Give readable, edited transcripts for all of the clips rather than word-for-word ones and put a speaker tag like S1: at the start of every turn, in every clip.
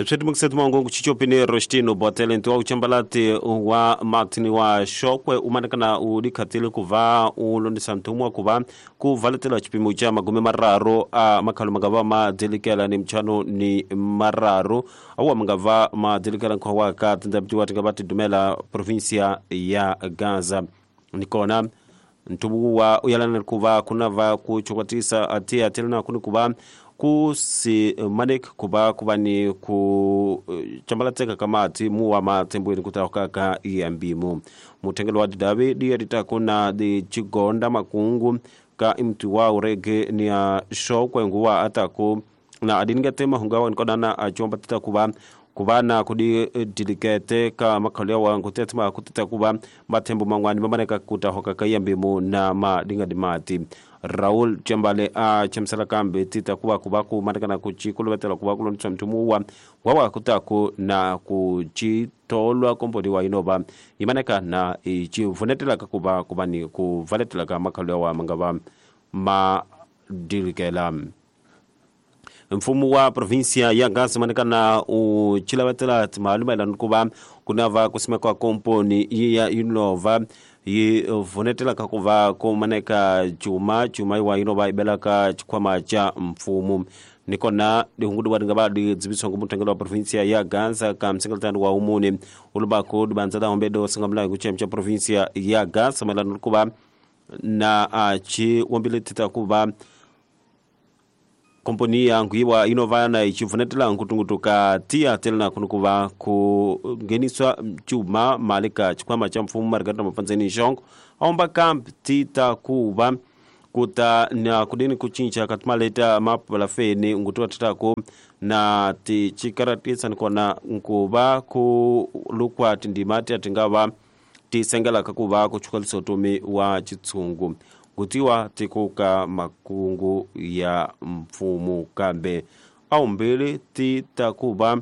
S1: Swetimukisetu mangongo chichopini Rostino Botele ntiwa uchambalati wa Martin wa Shokwe umanekana udikhatile kuva ulondisa mtumwa kuva kuvaletela chipimo cha 30 a makhalo mangava madelikela ni mchano ni mararu awa mangava madelikela nkhowa ka tindabitiwa tingava tidumela provincia ya Gaza nikona ntubuwa uyalana kuva kunava kuchokwatisa atia telena kuni kuva kusi manek kuba kuba ni ku chambalateka kamati muwa matembweni kutaka ka iyambimu mutengelo wa didavi diya kuna di chigonda makungu ka imtu wa urege ni ya shokwe nguwa ataku na adinga tema hungawa nikodana achomba tita kuba kubana kudi dilikete ka makhalya wa ngutethma kutita kuba mathembo mangwani mamaneka kutahoka ka iyambimu na madinga dimati Raul Chambale a chemsala kambe tita kuba kuba ku matakana kuchikuluvetela kuba kulontswa mtumuwa wawa kutaku na kuchitolwa komponi wa inova imaneka na ichivunetela kuba kuba ni kuvaletela ka makhalya wa mangava madilikela. Mfumo wa provincia ya Gaza manekana uchilavetela timaluma kuba kunava kusimekwa komponi ya inova yi vunetela kakuva kumaneka chuma chuma iwa inova ibelaka chikwama cha mfumo nikona dihungudu wa ngaba di dzibisongo mutengelo wa provincia ya Gaza ka msingalatano wa umune ulubako dibanza da hombedo singamla kuchemcha provincia ya Gaza malano kuba na achi wambile tita kuba komponi yangu iwa inova na ichivunetela nkutungutuka tia telena kunukuva kungeniswa chuma malika chikwama cha mfumo marikata mapanzeni shongo aomba kamp tita kuva kuta na kudini kuchincha katimaleta mapala feni ngutuwa titako na tichikaratisa nikona nkuva kulukwa tindimati atingava tisengela kakuva kuchukalisa utumi wa chitsungu kutiwa tikuka makungu ya mfumo kambe au mbili titakuba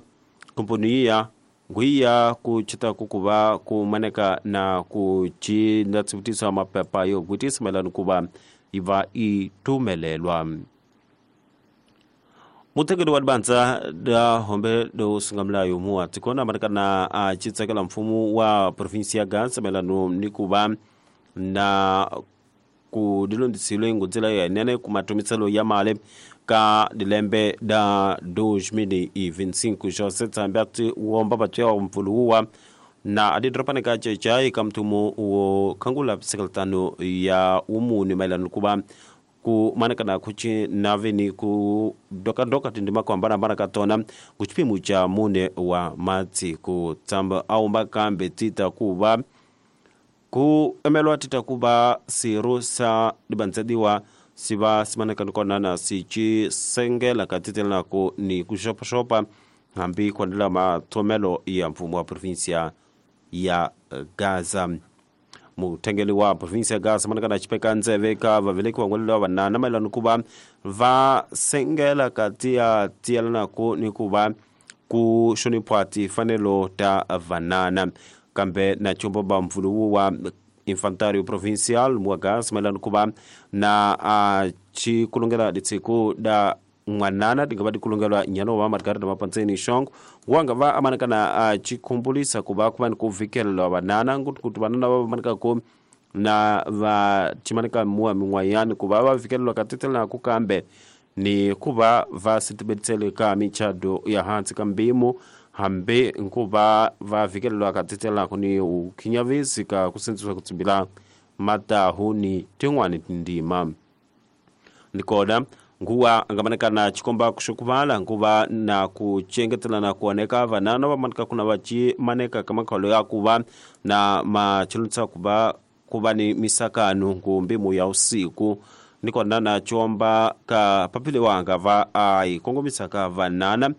S1: komponi ya ngwiya kuchita kukuba kumaneka na kuchinda tsibutisa mapepa yo kutisa melano kuba iva itumelelwa. Mutekeli wa banza da hombe do singamlayo muwa tikona maneka achitsakela mfumo wa provinsia ya Gaza melano nikuba na kudilondisilo ngudzela ya nene kumatumiselo ya male ka dilembe da 2025 Jose Tsambati uomba batya mfuluwa na adidropane ka chechai kamtumo uo kangula sekretano ya umuni mailano kuba ku maneka na kuchi naveni ku doka doka tindima kwa mbana katona kuchipimu cha mune wa mati ku tsamba aumba kambe tita kuba ku emelwa tita kuba sirusa dibanzediwa siba simaneka nikona na sichi sengela katitela ku ni kushopa hambi kwandela mathomelo ya mfumo wa provincia ya Gaza. Mutengeli wa provincia ya Gaza maneka na chipeka nzeve ka vaveleki wangwelelwa vanana maelano kuba va sengela katia tielana ku ni kuba kushoniphwa tifanelo ta vanana kambe na chombo ba mfuluwu wa infantario provincial mwa Gaza maelano kuba na chikulongela ditsiku da mwanana tingava dikulongelwa nyano wa Margarita Mapantseni Shongo wanga va amaneka na chikumbulisa kuba kuba ni kuvikelelwa vanana kuti vanana va maneka ku na va chimaneka muwa min'wayani kuva va vikelelwa katetela ku kambe ni kuva va sitibetsele ka michado ya hansi ka mbimo hambi nkuva va vikelelwa katetela ku ni ukhinyavisi ka kusendziswa kutsimbila matahu ni tin'wani tindima nikona nguwa angamaneka na chikomba kushukuvala nguva na kuchengetela na kuoneka vanana vamanika kuna vachimaneka kamakhalo ya kuva na machilutsa kuva kuva ni misakano ngumbimu ya usiku nikona na chomba ka papile wanga va aikongomisa ka vanana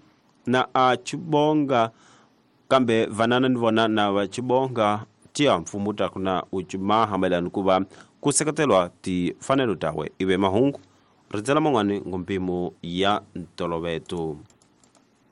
S1: na achibonga kambe vanana nivona na vachibonga tia mfumo takuna uchimaha maelano kuva kuseketelwa tifanelo tawe ive mahungu ritsela mangwani ngompimo ya ntoloveto.